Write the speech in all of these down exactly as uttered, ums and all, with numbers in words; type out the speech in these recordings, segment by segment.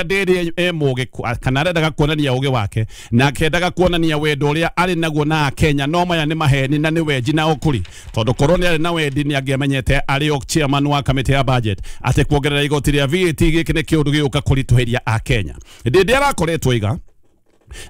Ndĩrĩ e mũgĩ kana arendaga kuonania ũgĩ wake na akendaga kuonania wendo ũrĩa arĩ naguo na Kenya, no maya nĩ maheni na nĩ wenji na ũkuri, tondũ korwo nĩ arĩ na wendi nĩ angĩamenyete arĩ o chairman wa kamĩtĩ ya budget atĩ kuongerera igoti rĩa V A T gĩkĩ nĩ kĩũndũ gĩgũka kũritũhĩria Akenya. Ndĩndĩ arakoretwo iga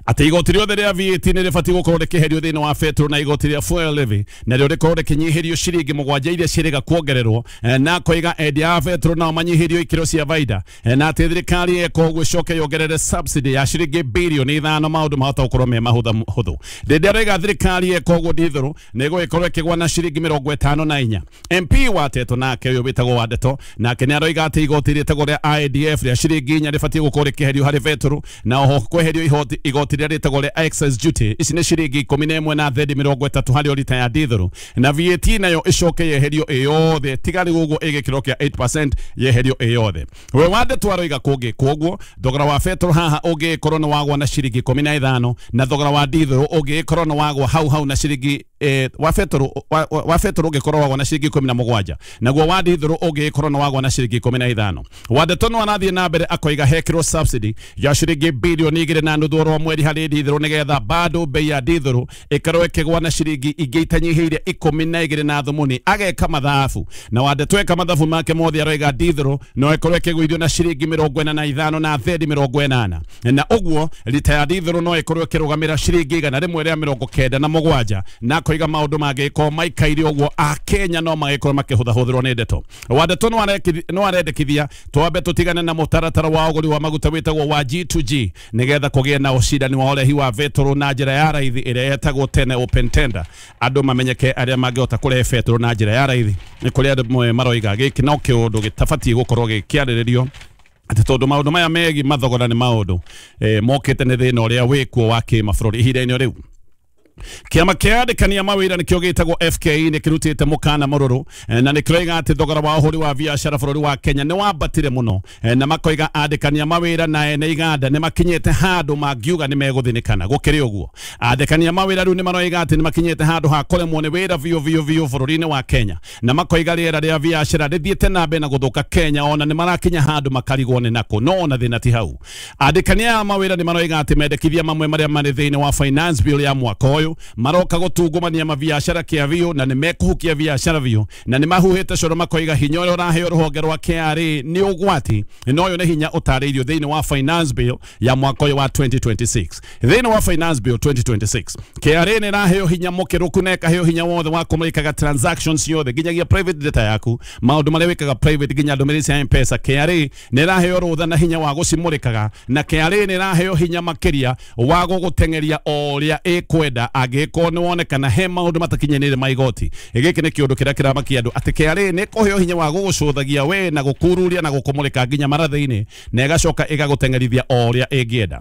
atĩ igoti rĩothe rĩa V A T nĩ rĩbatiĩ gũkorwo rĩkĩherio thĩinĩ wa betũrũ na igoti rĩa fuel levy narĩo rĩkorwo rĩkĩnyihĩrio ciringi mũgwanja iria ciĩrĩga kuongererwo, na koiga endia a betũrũ nao manyihĩrio ikĩro cia baida, na atĩ thirikari ĩka ũguo ĩcoke yongerere subsidy ya ciringi birioni ithano maũndũ mahota gũkorwo me mahũthũ. Ndĩndĩ araiga thirikari ĩka ũguo ndithũrũ nĩ ĩgũgĩkorwo ĩkĩgwa na ciringi mĩrongo ĩtano na inya. M P wa Teto nake ũyũ wĩtagwo Wandeto nake nĩ aroiga atĩ igoti rĩtagwo rĩa I D F rĩa ciringi inya rĩbatiĩ gũkorwo rĩkĩherio harĩ betũrũ, na oho kweherio ihoti igoti rĩrĩa rĩtagwo rĩa excise duty ici nĩ ciringi ikũmi na ĩmwe na thendi mĩrongo ĩtatũ harĩ o rita ya ndithũrũ, na V A T nayo ĩcoke yeherio ĩyothe tiga rĩu ũguo ĩgĩkĩro kĩa eight percent yeherio ĩyothe. We Wandeto aroiga kũngĩ kwoguo thogora wa betũrũ haha ũngĩkorwo nĩ wagwa na ciringi ikũmi na ithano na thogora wa ndithũrũ ũngĩkorwo nĩ wagwa hau hau na ciringi eh, wa betũrũ wa, wa betũrũ ũngĩkorwo wagwa na ciringi ikũmi na mũgwanja naguo wa ndithũrũ ũngĩkorwo nĩ wagwa na ciringi ikũmi na ithano. Wandeto no arathiĩ na mbere akoiga hekĩrwo subsidy ya ciringi bilioni igĩrĩ na nuthu oro mweri harĩ ndithũrũ nĩgetha bado bei ya ndithũrũ ĩkorwo ĩkĩgwa na ciringi ingĩ itanyihĩire ikũmi na igĩrĩ na thumuni. Ageka mathabu na Wandeto eka mathabu make mothe aroiga ndithũrũ no ĩkorwo ĩkĩgũithio na ciringi mĩrongo ĩna na ithano na thendi mĩrongo ĩnana, na ũguo rita ya ndithũrũ no ĩkorwo ĩkĩrũgamĩra ciringi igana rĩmwe rĩa mĩrongo kenda na mũgwanja, na koiga maũndũ mangĩkorwo maikaire ũguo Akenya no magĩkorwo makĩhũthahũthĩrwo nĩ ndeto. Wandeto no arendekithia twambe tũtigane na mũtaratara wa ũgũri wa maguta wĩtagwo wa G two G nĩgetha kũgĩe na ũcindani wa ũrehi wa betũrũ na njĩra ya raithi ĩrĩa ĩtagwo tene open tender, andũ mamenyeke arĩa mangĩhota kũrehe betũrũ na njĩra ya raithi. Nĩ kũrĩ andũ maroiga gĩkĩ no kĩũndũ gĩtabatiĩ gũkorwo gĩkĩarĩrĩrio atĩ tondũ maũndũ maya megiĩ mathogora nĩ maũndũ eh, mokĩte nĩ thĩna ũrĩa wĩkuo wa kĩmabũrũri ihinda-inĩ rĩu. Kĩama kĩa andĩkani a mawĩra nĩkĩo gĩtagwo F K E nĩ kĩrutĩte mũkana mũrũrũ na nĩ kĩroiga atĩ thogora wa ũhũri wa biacara bũrũri wa Kenya nĩ wambatire mũno, na makoiga andĩkani a mawĩra na ene iganda nĩ makinyĩte handũ mangiuga nĩ megũthĩnĩkana. Gũkĩrĩ ũguo andĩkani a mawĩra rĩu nĩ maroiga atĩ nĩ makinyĩte handũ ha kũremwo nĩ wĩra biũ biũ biũ bũrũri-inĩ wa Kenya, na makoiga rĩera rĩa biacara rĩthiĩte na mbere na gũthũka Kenya, ona nĩ marakinya handũ makarigwo nĩ nakũ, no ona thĩna ti hau. Andĩkani a mawĩra nĩ maroiga atĩ mendekithia mamwe marĩa marĩ thĩinĩ wa finance bill ya mwaka ũyũ maroka gũtungumania mabiacara kĩa biũ na nĩ mekũhukia biacara biũ, na nĩ mahuhĩte coro makoiga hinya ũrĩa ũraheo rũhonge rwa K R A nĩ ũgwati, na ũyũ nĩ hinya ũtarĩirio thĩinĩ wa finance bill ya mwaka ũyũ wa twenty twenty-six. Thĩinĩ wa finance bill twenty twenty-six K R A nĩ ĩraheo hinya mũkĩrũku na ĩkaheo hinya wothe wa kũmũrĩkaga transactions ciothe nginyagia private data yaku, maũndũ marĩa wĩkaga private nginya ndũmĩrĩri cia M-Pesa. K R A nĩ ĩraheo rũtha na hinya wa gũcimũrĩkaga, na K R A nĩ ĩraheo hinya makĩria wa gũgũteng'eria o ũrĩa ĩkwenda angĩkorwo nĩ wonekana he maũndũ matakinyanĩire ma igoti. Gĩkĩ nĩ kĩũndũ kĩrĩa kĩramakia andũ atĩ K R A nĩ ĩkũheo hinya wa gũgũcũthagia we na gũkururia na gũkũmũrĩka nginya marathĩ-inĩ, na ĩgacoka ĩgagũteng'erithia o ũrĩa ĩngĩenda.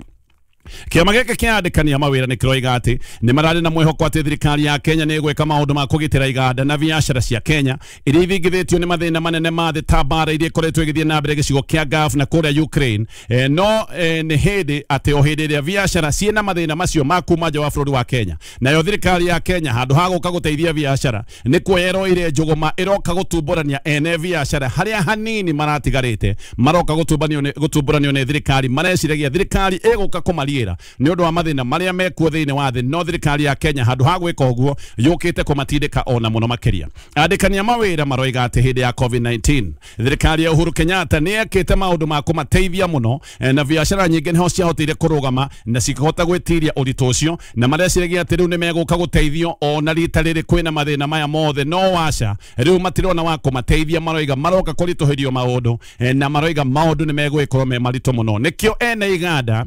Kĩama gĩkĩ kĩa andĩkani a mawĩra nĩ kĩroiga atĩ nĩ mararĩ na mwĩhoko atĩ thirikari ya Kenya nĩ ĩgwĩka maũndũ ma kũgitĩra iganda na biacara cia Kenya iria ithingithĩtio nĩ mathĩna manene ma thĩ ta mbara iria ikoretwo ĩgĩthiĩ na mbere gĩcigo kĩa Gulf na kũrĩa Ukraine. E, no e, nĩ hĩndĩ atĩ o hĩndĩ ĩrĩa biacara ciĩna mathĩna macio ma kuma nja wa bũrũri wa Kenya, nayo thirikari ya Kenya handũ ha gũka gũteithia biacara nĩ kuoya ĩroire njũgũma ĩroka gũtumbũrania ene biacara harĩa hanini maratigarĩte, maroka gũtumbũranio nĩ thirikari, mareciragia thirikari ĩgũka kũmaria nĩ ũndũ wa mathĩna marĩa mekuo thĩinĩ wa thĩ, no thirikari ya Kenya handũ ha gwĩka ũguo yũkĩte kũmatindĩka ona mũno makĩria. Andĩkani a mawĩra maroiga atĩ hĩndĩ ya covid nineteen thirikari ya Uhuru Kenyatta nĩ yekĩte maũndũ ma kũmateithia mũno, na biacara nyingĩ nĩho ciahotire kũrũgama na cikĩhota gwĩtiria ũritũ ũcio, na mareciragia atĩ rĩu nĩ megũka gũteithio ona rita rĩrĩ kwĩna mathĩna maya mothe, no waca rĩu matirona wa kũmateithia, maroiga maroka kũritũhĩrio maũndũ, na maroiga maũndũ nĩ megũgĩkorwo me maritũ mũno. Nĩkĩo ene iganda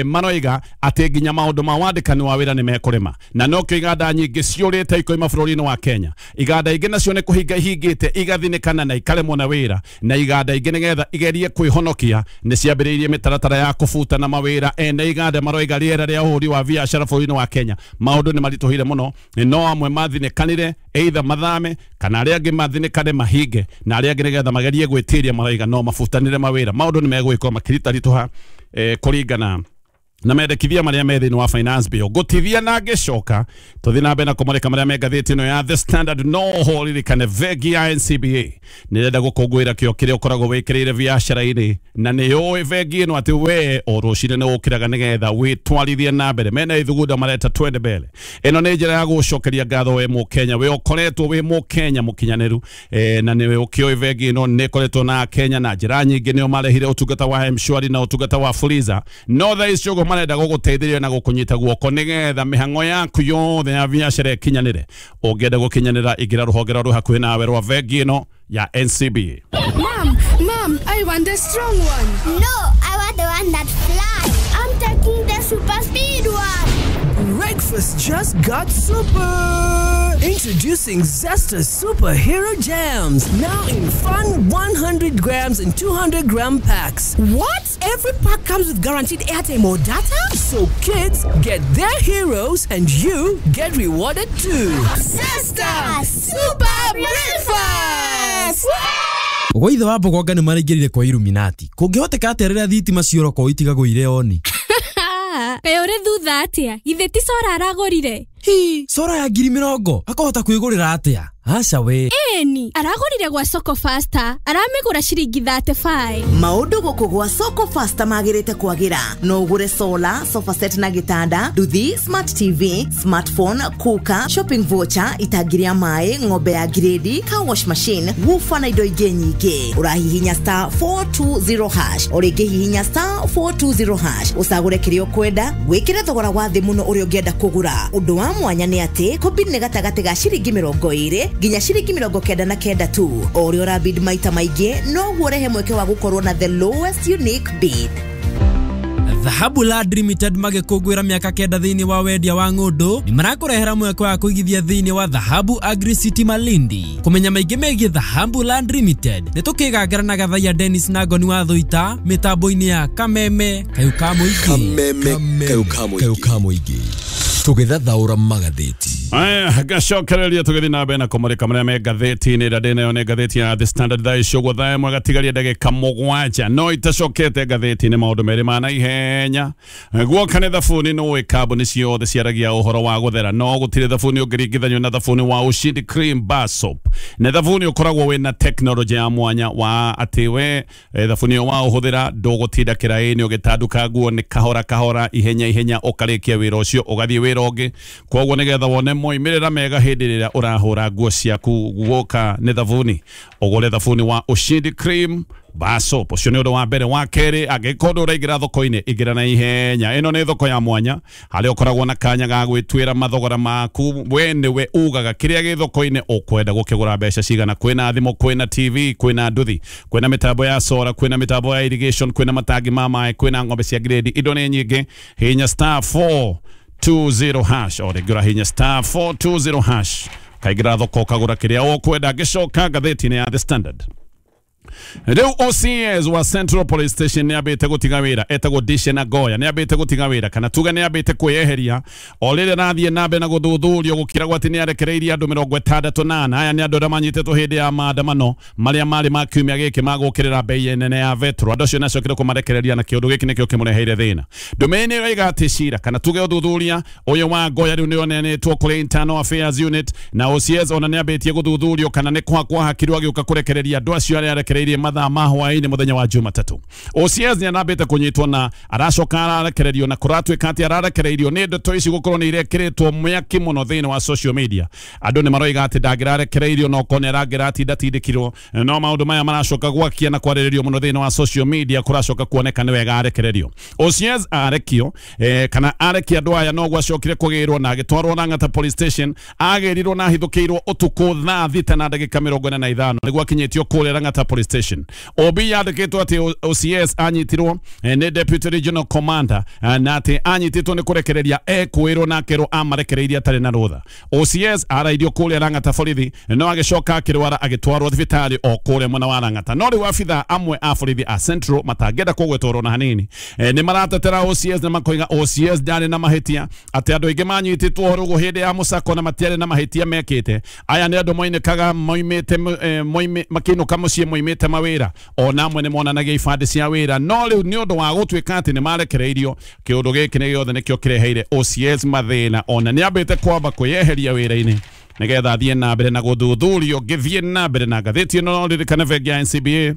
maroiga atĩ nginya maũndũ ma wandĩkani wa wĩra nĩ mekũrema, na nokĩo iganda nyingĩ ciũrĩte ikoima bũrũri-inĩ wa Kenya. Iganda ingĩ nacio nĩ kũhinga ihingĩte igathinĩkana na ikaremwo na wĩra, na iganda ingĩ nĩgetha igerie kwĩhonokia nĩ ciambĩrĩirie mĩtaratara ya kũbutana mawĩra. Ene iganda maroiga rĩera rĩa ũhũri wa biacara bũrũri-inĩ wa Kenya maũndũ nĩ maritũhire mũno, no amwe mathinĩkanire either mathame kana arĩa angĩ mathinĩkane mahinge, na arĩa angĩ nĩgetha magerie gwĩtiria maroiga no mabutanĩre mawĩra. Maũndũ nĩ megũgĩkorwo makĩritaritũha eh, kũringana na mendekithia maria me thĩinĩ wa finance bill. Gũtithia na ngĩcoka tũthiĩ na mbere na kũmũrĩka marĩa me ngathĩti ĩno ya The Standard. No ho ririkane bengi ya N C B A nĩrenda gũkũngũĩra kĩo kĩrĩa ũkoragwo wĩkĩrĩire biacara-inĩ, na nĩ ũĩ bengi ĩno atĩ we o rũcinĩ nĩ ũkĩraga nĩgetha wĩtwarithie na mbere. Mena ithugunda mareta twende mbere. Ĩno nĩ njĩra ya gũcokeria ngatho we mũkenya, we ũkoretwo wĩ mũkenya mũkinyanĩru, eh, na nĩ ũkĩũĩ bengi ĩno nĩ ĩkoretwo na Kenya na njĩra nyingĩ. Nĩo marehire ũtungata wa M-Shwari na ũtungata wa Fuliza. No thaa ici ũguo marenda gũgũteithĩrĩria na gũkũnyita guoko nĩgetha mĩhang'o yaku yothe ya biacara ĩkinyanĩre. Ũngĩenda gũkinyanĩra, ingĩra rũhonge rwa rwĩ hakuhĩ nawe rwa bengi ĩno ya N C B A. Mom, mom, I want the strong one. No, I want the one that flies. I'm taking the super speed one. Breakfast just got super. Introducing Zesta Superhero Jams, now in fun one hundred grams and two hundred gram packs. What? Every pack comes with guaranteed airtime or data? So kids get their heroes and you get rewarded too. Zesta Super Breakfast! Gwa ithe wa Mbogonga nĩ maraingĩrire kwa Illuminati. Kũngĩhoteka atĩa rĩrĩa thitima ciora kwa itigagwo irĩ oni? Kaĩ ũrĩ thutha atĩa? Githĩ ti cora aragũrire? Hi, cora ya ngiri mĩrongo akahota kwĩgũrĩra atĩa? Aca we. Ĩni, aragũrire gwa Soko Faster, aramĩgũra ciringi thirty-five. Maũndũ gũkũ gwa Soko Faster magĩrĩte kwagĩra. No ũgũre solar, sofa set na gĩtanda, nduthi, smart T V, smartphone, cooker, shopping voucher, itangi rĩa maĩ, ng'ombe ya grade, car wash machine, woofer na indo ingĩ nyingĩ. Ũrahihinya star four two zero hash, o rĩngĩ hihinya star four two zero hash, ũcagũre kĩrĩa ũkwenda, wĩkĩre thogora wa thĩ mũno ũrĩa ũngĩenda kũgũra. Ũndũ wa mwanya nĩ atĩ kũbid nĩ gatagatĩ ga ciringi mĩrongo ĩrĩ nginya ciringi mĩrongo kenda na kenda tu. O ũrĩa ũrabid maita maingĩ noguo ũrehe mweke wa gũkorwo na the lowest unique bid. Dhahabu Land Limited magĩkũngũĩra mĩaka kenda thĩinĩ wa wendia wa ng'ũndũ nĩ marakũrehera mweke wa kũigithia thĩinĩ wa Dhahabu Agri City Malindi. Kũmenya maingĩ megiĩ Dhahabu Land Limited nĩ tũkĩgangara na Gathaiya Dennis na Ngoni wa Thũita mĩtambo-inĩ ya Kameme Kayũ ka Mũingĩ. Kameme Kayũ ka Mũingĩ tũgĩthathaũra magathĩti. Aya, gacokereria tũgĩthiĩ na mbere na kũmũrĩka marĩa me ngathĩti-inĩ. Ĩrĩa ndĩ nayo nĩ ngathĩti ya The Standard. Thaa ici ũguo thaa ĩmwe gatigaria ndagĩka mũgwanja. No itacokete ngathĩti-inĩ maũndũ merĩ ma naihenya. Guoka nĩ thabuni, nĩ ũĩ kambuni ciothe ciaragia ũhoro wa gũthera, no gũtirĩ thabuni ũngĩringithanio na thabuni wa Ushindi Cream Bar Soap. Nĩ thabuni ũkoragwo wĩna tekinoronjĩ ya mwanya wa atĩ we thabuni ũyũ wa ũhũthĩra ndũgũtinda kĩraĩ-inĩ ũgĩtanduka nguo, nĩ kahora kahora, ihenya ihenya ũkarĩkia wĩra ũcio ũgathiĩ wĩra ũngĩ. Koguo nĩgetha wone moimĩrĩra mega hĩndĩ ĩrĩa ũrahũra nguo ciaku, guoka nĩ thabuni, ũgũre thabuni wa Ushindi Cream Bar Soap. Ũcio nĩ ũndũ wa mbere. Wa kerĩ, angĩkorwo ndũraingĩra thoko-inĩ, ingĩra na ihenya. Ĩno nĩ thoko ya mwanya harĩa ũkoragwo na kanya ga gwĩtuĩra mathogora maku. We nĩwe ugaga kĩrĩa gĩ thoko-inĩ ũkwenda gũkĩgũra mbeca cigana. Kwĩna thimũ, kwĩna T V, kwĩna nduthi, kwĩna mĩtambo ya solar, kwĩna mĩtambo ya irrigation, kwĩna matangi ma maĩ, kwĩna ng'ombe cia grade. Indo nĩ nyingĩ. Hinya star four two zero hash, o rĩngĩ ũrahinya star four two zero hash kaingĩra thoko ũkagũra kĩrĩa ũkwenda. Ngĩcoka ngathĩti-inĩ ya The Standard. Rĩu O C S wa Central Police Station nĩ ambĩte gũtiga wĩra, etagwo Dishen Agoya, nĩ ambĩte gũtiga wĩra, kana tuge nĩ ambĩte kwĩyeheria o rĩrĩa arathiĩ na mbere na gũthuthurio gũkĩragwo atĩ nĩ arekereirie andũ mĩrongo ĩtandatũ na ana. Aya nĩ andũ arĩa manyitĩtwo hĩndĩ ya maandamano marĩa marĩ ma kiumia gĩkĩ ma gũkĩrĩra bei nene ya vetro. Andũ acio nĩacokire kũmarekereria na kĩũndũ gĩkĩ nĩkĩo kĩmũreheire thĩna. Ndũmĩrĩri nĩ ĩroiga atĩ cira kana tuge ũthuthuria ũyũ wa Ngoya rĩu nĩ ũneanĩtwo kũrĩ Internal Affairs Unit, na O C S ona nĩ ambĩtie gũthuthurio kana nĩ kwa hakirwo agĩũka kũrekereria andũ acio arĩa arekereirie mathaa ma hwaĩ-inĩ mũthenya wa Jumatatũ. O C S nĩ arambĩte kũnyitwo na aracoka ararekererio, na kũratuĩka atĩ ararekereirio nĩ ndeto ici gũkorwo nĩ irekĩrĩtwo mĩaki mũno thĩinĩ wa social media. Andũ nĩ maroiga atĩ ndangĩrarekereirio no korwo nĩ arangĩratindatindĩkirwo, no maũndũ maya maracoka gwakia na kwarĩrĩrio mũno thĩinĩ wa social media, kũracoka kuoneka nĩ wega arekererio. O C S arekio, eh, kana arekia andũ aya no gwacokire kũgĩrwo na agĩtwarwo Lang'ata Police Station. Agĩrirwo na ahithũkĩirwo ũtukũ thaa thita na ndagĩka mĩrongo ĩna na ithano nĩguo akinyĩtio kũrĩa Lang'ata Police Station. O B yandĩkĩtwo atĩ O C S anyitirwo nĩ Deputy Regional Commander, na atĩ anyitĩtwo nĩ kũrekereria ekwĩrwo na akerwo amarekereirie atarĩ na rũtha. O C S arairio kũrĩa Lang'ata borithi, no agĩcoka akĩrwara agĩtwarwo thibitarĩ o kũrĩa mwena wa Lang'ata. No rĩu abithaa amwe a borithi a Central matangĩenda kũgwetwo na hanini nĩ maratetera O C S na makoiga O C S ndarĩ na mahĩtia, atĩ andũ aingĩ manyitĩtwo rũgũ hĩndĩ ya mũcako na matiarĩ na mahĩtia mekĩte. Aya nĩ andũ moinĩkaga moimĩte makĩinũka mũciĩ moimĩte moimĩte mawĩra ona amwe nĩ monanagia ibandĩ cia wĩra no rĩu nĩ ũndũ wa gũtuĩka atĩ nĩ marekereirio kĩũndũ gĩkĩ nĩ gĩothe nĩkĩo kĩreheire O C S mathĩna ona nĩ ambĩte kwamba kwĩyeheria wĩra-inĩ nĩgetha athiĩ na mbere na gũthuthurio. Ngĩthiĩ na mbere na ngathĩti ĩno no ririkane bengi ya N C B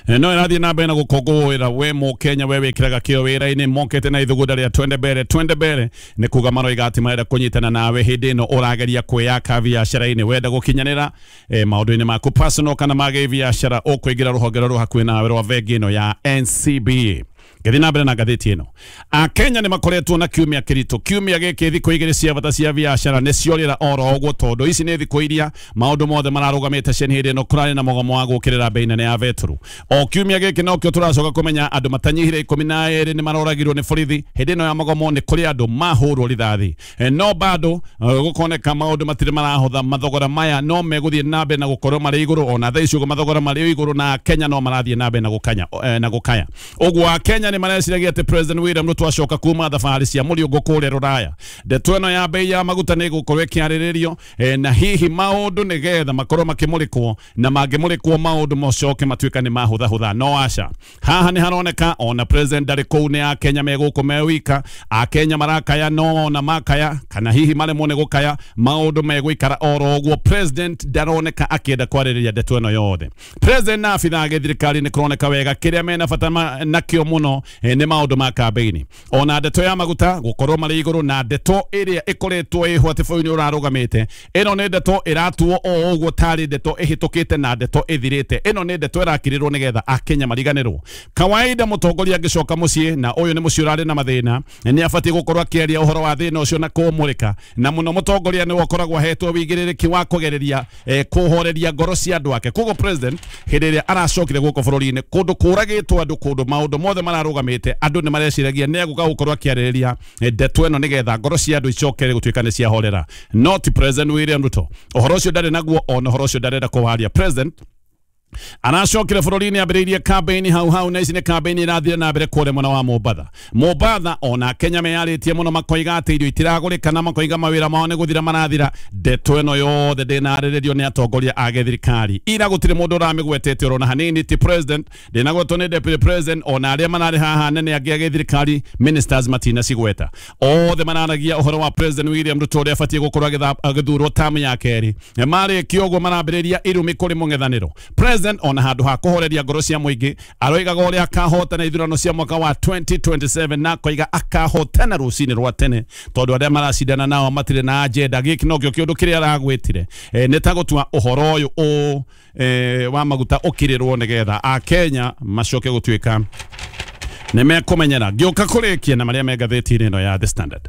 A no ĩrathiĩ na mbere na gũkũngũĩra we mũkenya we wĩkĩraga kĩo wĩra-inĩ mokĩte na ithugunda rĩa twende mbere twende mbere nĩ kuga maroiga atĩ marenda kũnyitana nawe hĩndĩ ĩno ũrageria kwĩyaka biacara-inĩ wenda gũkinyanĩra eh, maũndũ-inĩ maku personal kana ma gĩbiacara ũkũingĩra rũhonge rũrũ hakuhĩ nawe rwa bengi ĩno ya N C B A. Ngĩthiĩ na mbere na ngathĩti ĩno Akenya nĩ makoretwo na kiumia kĩritũ kiumia gĩkĩ thikũ igĩrĩ cia bata cia biacara nĩ ciorĩra oro ũguo tondũ ici nĩ thikũ iria maũndũ mothe mararũgamĩte cen hĩndĩ ĩno kũrarĩ na mũgomo wa gũkĩrĩra bei nene ya betũrũ o kiumia gĩkĩ nokĩo tũracoka kũmenya andũ matanyihire ikũmi na erĩ nĩ maroragirwo nĩ borithi hĩndĩ ĩno ya mũgomo nĩ kũrĩ andũ mahũrwo rithathi no bado gũkoneka maũndũ matirĩ marahotha mathogora maya no megũthiĩ na mbere na gũkorwo marĩ igũrũ ona thaa ici ũguo mathogora marĩ igũrũ na Kenya no marathiĩ na mbere na gũkanya na gũkaya ũguo Akenya nĩ mareciragia atĩ President William Ruto acoka kuma thabarĩ cia mũriũngũ kũrĩa rũraya ndeto ĩno ya bei ya maguta nĩ ĩgũkorwo ĩkĩarĩrĩrio na hihi maũndũ nĩgetha makorwo makĩmũrĩkwo na mangĩmũrĩkwo maũndũ mocoke matuĩka nĩ mahũthahũtha no aca haha nĩ haroneka ona President ndarĩ kũu nĩ Akenya megũkũ me wika Akenya marakaya no ona makaya kana hihi maremwo nĩ gũkaya maũndũ megũikara oro ũguo President ndaroneka akĩenda kwarĩrĩria ndeto ĩno yothe President na abithaa a gĩthirikari nĩ kũroneka wega kĩrĩa mena bata nakĩo mũno nĩ maũndũ ma kambĩini ona ndeto ya maguta gũkorwo marĩ igũrũ na ndeto ĩrĩa ĩkoretwo ĩho atĩ bũrũri nĩ ũrarũgamĩte ĩno nĩ ndeto ĩratuo o ũguo tarĩ ndeto ĩhĩtũkĩte na ndeto ĩthirĩte ĩno nĩ ndeto ĩrakirĩrwo nĩgetha Akenya mariganĩrwo kawaida mũtongoria angĩcoka mũciĩ na ũyũ nĩ mũciĩ ũrarĩ na mathĩna nĩ abatiĩ gũkorwo akĩaria ũhoro wa thĩna ũcio na kũũmũrĩka na mũno mũtongoria nĩwe ũkoragwo ahetwo wĩigĩrĩrĩki wa kũgereria eh, kũhoreria ngoro cia andũ ake koguo President hĩndĩ ĩrĩa aracokire gũkũ bũrũri-inĩ kũndũ kũragĩtwo andũ kũndũ maũndũ mothe mararũgamĩte andũ nĩ mareciragia nĩ egũka gũkorwo akĩarĩrĩria ndeto ĩno nĩgetha ngoro cia andũ icokere gũtuĩka nĩ ciahorera not President William Ruto ũhoro ũcio ndarĩ naguo ona ũhoro ũcio ndarenda kũwaria President aracokire bũrũri-inĩ ambĩrĩirie campaign hau hau na ici nĩ campaign irathire na mbere kũrĩa mwena wa Mombatha Mombatha ona Kenya meyarĩtie mũno makoiga atĩ irio itiragũrĩka na makoiga mawĩra mao nĩ gũthira marathira ndeto ĩno yothe ndĩnarĩrĩrio nĩ atongoria a gĩthirikari ira gũtirĩ mũndũ ũramĩgwetete orona hanini ti President ndĩnagwetwo nĩ Deputy President ona arĩa mararĩ haha nene angĩ a gĩthirikari ministers matinacigweta othe mararagia ũhoro wa President William Ruto ũrĩa abatiĩ gũkorwo agĩthurwo tamu ya kerĩ marĩkia ũguo marambĩrĩria irumi kũrĩ mũng'ethanĩro President ona handũ ha kũhoreria ngoro cia mũingĩ aroigaga ũrĩa akahotana ithurano cia mwaka wa twenty twenty-seven na koiga akahotana rũcinĩ rwa tene tondũ arĩa maracindana nao matirĩ na agenda gĩkĩ nokĩo kĩũndũ kĩrĩa aragwĩtire e, nĩ ta gũtua ũhoro ũyũ ũ e, wa maguta ũkirĩrwo nĩgetha Akenya macoke gũtuĩka nĩ mekũmenyera ngĩũka kũrĩkia na marĩa me ngathĩti-inĩ ĩno ya The Standard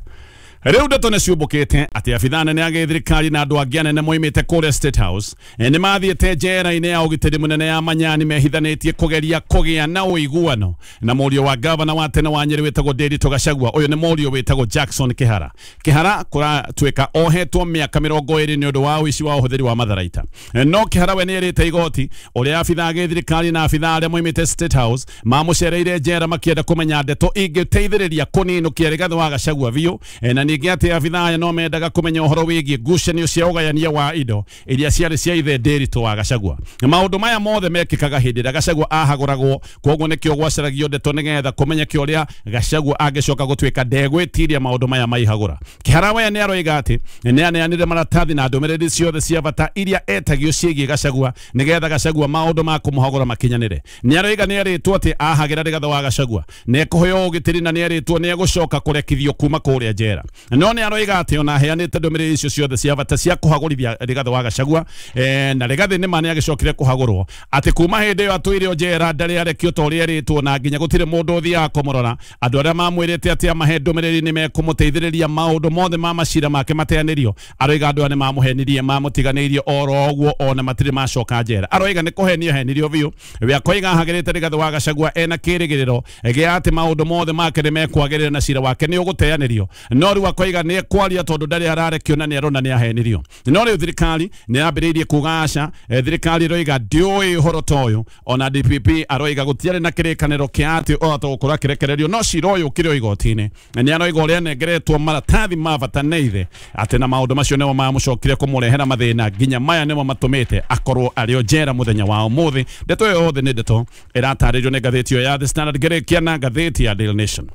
Rĩu ndeto nĩ ciũmbũkĩte atĩ abithaa anene a gĩthirikari na andũ angĩ anene moimĩte kũrĩa State House nĩ mathiĩte njera-inĩ ya ũgitĩri mũnene ya Manyani mehithanĩtie kũgeria kũgĩa na ũiguano na mũriũ wa gavana wa tene wa Nyĩrĩ wĩtagwo Ndiritu Gachagua ũyũ nĩ mũriũ wĩtagwo Jackson Kĩhara Kĩhara kũratuĩka ohetwo mĩaka mĩrongo ĩrĩ nĩ ũndũ wa ũici wa ũhũthĩri wa matharaita no Kĩhara we nĩ erĩte igoti ũrĩa abithaa a gĩthirikari na abithaa arĩa moimĩte State House mamũcereire njera makĩenda kũmenya ndeto ingĩteithĩrĩria kũninũkia Rigathĩ wa Gachagua biũ na ningĩ atĩ abithaa aya no mendaga kũmenya ũhoro wĩgiĩ ngucanio cia ũgayania wa indo iria ciarĩ cia ithe Ndiritu wa Gachagua maũndũ maya mothe mekĩkaga hĩndĩ ĩrĩa Gachagua ahagũragwo koguo nĩkĩo gwacaragio ndeto nĩgetha kũmenyeke ũrĩa Gachagua angĩcoka gũtuĩka ndegwĩtiria maũndũ maya maihagũra Kĩhara we nĩ aroiga atĩ nĩ aneanire maratathi na ndũmĩrĩri ciothe cia bata iria etagio ciĩgiĩ Gachagua nĩgetha Gachagua maũndũ ma kũmũhagũra makinyanĩre nĩ aroiga nĩ erĩtwo atĩ ahagĩra Rigathĩ wa Gachagua nĩ ekũheo ũgitĩri na nĩ erĩtwo nĩ egũcoka kũrekithio kuma kũrĩa njera no nĩ aroiga atĩ ona aheanĩte ndũmĩrĩri icio ciothe cia bata cia kũhagũrithia Rigathĩ wa Gachagua eh, na Rigathĩ nĩ ma nĩ agĩcokire kũhagũrwo atĩ kuma hĩndĩ ĩyo atũire njera ndarĩ arekio ta ũrĩa erĩtwo na nginya gũtirĩ mũndũ ũthiaga kũmũrora andũ arĩa mamwĩrĩte atĩ amahe ndũmĩrĩri nĩ mekũmũteithĩrĩria maũndũ mothe ma macira make mateanĩrio aroiga andũ aya nĩ mamũhenirie mamũtiganĩirie oro ũguo ona matirĩ macoka njera aroiga nĩ kũhenio henirio biũ we akoiga ahagĩrĩte Rigathĩ wa Gachagua ena kĩrĩgĩrĩro gĩa atĩ maũndũ mothe make nĩ mekwagĩrĩra na cira wake nĩ ũgũteanĩrio no rĩu akoiga nĩ kwaria tondũ ndarĩ ararekio na nĩ arona nĩ ahenirio. No rĩu thirikari nĩ yambĩrĩirie kuga aca, thirikari ĩroiga ndĩũĩ ũhoro ta ũyũ. Ona D P P aroiga gũtiarĩ na kĩrĩkanĩro kĩa atĩ o gũkorwo akĩrekererio, no cira ũyũ ũkĩrĩ o igoti-inĩ. Nĩ aroiga ũrĩa anengeretwo maratathi ma bata nĩ ithe atĩ na maũndũ macio nĩmo mamũcokire kũmũrehera mathĩna nginya maya nĩmo matũmĩte akorwo arĩ o njera mũthenya wa ũmũthĩ. Ndeto ĩyo yothe nĩ ndeto ĩratarĩrio nĩ ngathĩti ĩyo ya The Standard ngĩrĩkia na ngathĩti ya Daily Nation.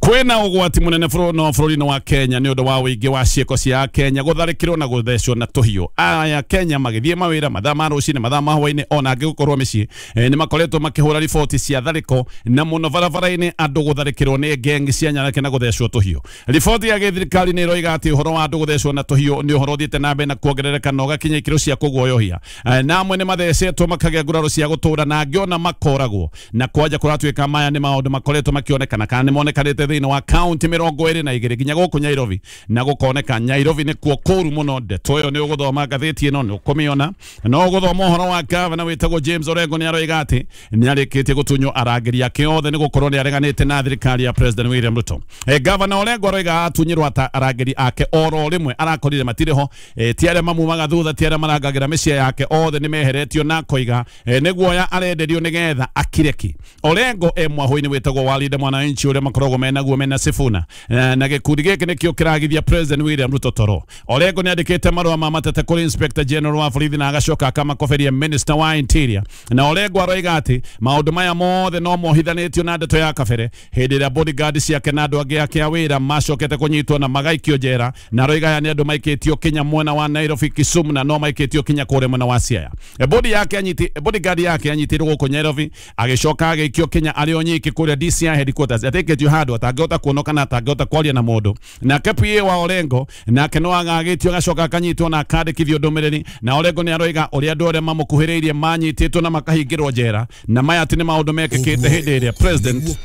Kwĩna ũgwati mũnene no bũrũri-inĩ wa Kenya nĩ ũndũ wa ũingĩ wa ciĩko cia Kenya gũtharĩkĩrwo na gũthecwo na tũhiũ. Aya Kenya magĩthiĩ mawĩra mathaa ma rũcinĩ, mathaa ma hwaĩ-inĩ, ona angĩ gũkorwo mĩciĩ e, nĩ makoretwo makĩhũra riboti cia tharĩko na mũno barabara-inĩ andũ gũtharĩkĩrwo nĩ ngengi cia nyanake na gũthecwo tũhiũ. Riboti ya gĩthirikari nĩ ĩroiga atĩ ũhoro wa andũ gũthecwo na tũhiũ nĩ ũhoro ũthiĩte na mbere na kuongerereka na ũgakinya ikĩro cia kũguoyohia. E, na amwe nĩ mathecetwo makagĩa nguraro cia gũtũra na angĩ ona makoragwo na kwanja kũratuĩka maya nĩ maũndũ makoretwo makĩonekana kana nĩ monekanĩte thĩinĩ wa kaunti mĩrongo ĩrĩ na igĩrĩ nginya gũkũ Nairobi, na gũkoneka Nairobi nĩkuo kũru mũno. Ndeto ĩyo nĩ ũgũthoma ngathĩti ĩno nĩ ũkũmĩona. No ũgũthoma ũhoro wa gavana wĩtagwo James Orengo nĩ aroiga atĩ nĩ arĩkĩtie gũtunywo arangĩri ake othe nĩ gũkorwo nĩ areganĩte na thirikari ya President William Ruto. E, gavana Orengo aroiga atunyirwo ata arangĩri ake oro rĩmwe arakorire matirĩ ho, e, ti arĩa mamumaga thutha, ti arĩa marangagĩra mĩciĩ yake, othe nĩ meheretio na koiga e, nĩ guoya arenderio nĩgetha akireki. Orengo e mwahũ-inĩ wĩtagwo Walida Mwananchi ũrĩa makoragwo mena guo mena Sifuna na gĩkundi gĩkĩ nĩkĩo kĩragithia President William Ruto toro. Orengo nĩ andĩkĩte marũa ma mateta kũrĩ Inspector General wa borithi na agacoka akamakoberia Minister wa Interior. Na Orengo aroiga atĩ maũndũ maya mothe no mohithanĩtio na ndeto ya kabere hĩndĩ ĩrĩa bodyguard ciake na andũ angĩ ake a wĩra macokete kũnyitwo na magaikio njera, na aroiga aya nĩ andũ maikĩtio kinya mwena wa Nairobi, Kisumu na no maikĩtio kinya kũrĩa mwena wa Siaya. E, body yake anyiti bodyguard yake anyitirwo gũkũ Nairobi agĩcoka agĩikio kinya arĩ o nyiki kũrĩa D C I headquarters ateketio handũ atangĩhota kuonwo kana atangĩhota kwaria na mũndũ. Nake P A wa Orengo nake no agagĩtio agacoka akanyitwo na akandĩkithio ndũmĩrĩri, na Orengo nĩ aroiga ũrĩa andũ arĩa mamũkuhĩrĩirie manyitĩtwo na makahingĩrwo njera, na maya atĩ nĩ maũndũ mekĩkĩte hĩndĩ ĩrĩa president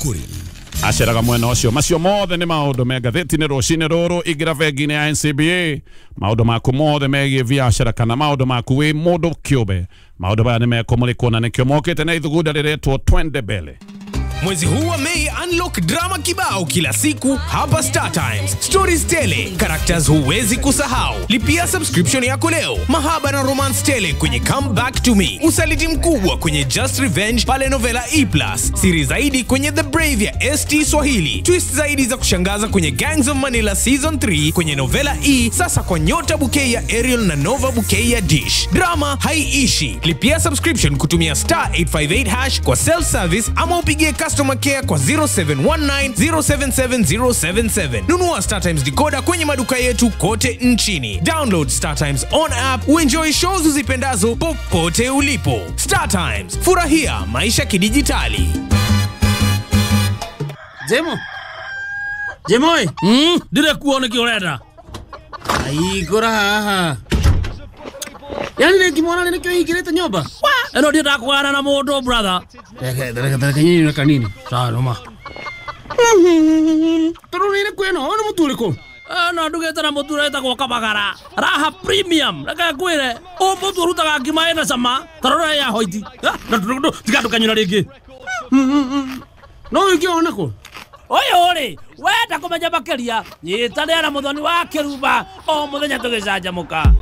aceraga mwena ũcio. Macio mothe nĩ maũndũ me ngathĩti-inĩ rũcinĩ rũrũ. Ingĩra bengi-inĩ ya N C B A, maũndũ maku mothe megiĩ biacara kana maũndũ maku wĩ mũndũ kĩũmbe, maũndũ maya nĩ mekũmũrĩkwo na nĩkĩo mokĩte na ithugunda rĩretwo Twende Mbele. Mwezi huu wa Mei, unlock drama kibao kila siku hapa Star Times. Stories tele, characters huwezi kusahau. Lipia subscription yako leo. Mahaba na romance tele kwenye Come Back to Me. Usaliti mkubwa kwenye Just Revenge pale Novela E plus. Siri zaidi kwenye The Brave ya S T Swahili. Twist zaidi za kushangaza kwenye Gangs of Manila Season three kwenye Novela E, sasa kwa Nyota Bouquet ya Ariel na Nova Bouquet ya Dish. Drama haiishi. Lipia subscription kutumia star eight five eight hash kwa self service ama upigie customer care kwa zero seven one nine zero seven seven zero seven seven. Nunua Star Times decoder kwenye maduka yetu kote nchini. Download Star Times on app uenjoy shows uzipendazo popote ulipo. Star Times, furahia maisha kidijitali. Jemo. Jemoi. Mm, dire kuone kioreda. Ai gora haha. Yani nikimwona nikihingirite nyumba. Wa, eno ndienda kugana na mundu brother. Reke reke reke nyinyi na kanini. Sawa noma. Tururire kweno, ono muturiko. No ndugite na mutu wetagwo Kabagara. Raha Premium. Reke ngwire, o mutu urutaga ngima ina cama, tarora ya hoiti. Na tiga ndukanyura ringi. No ukiona ko. Ũyũ rĩ, wenda kũmenya makĩria, nyitanĩra na Mũthoni wa Kĩrumba o mũthenya tũgĩcanjamũka.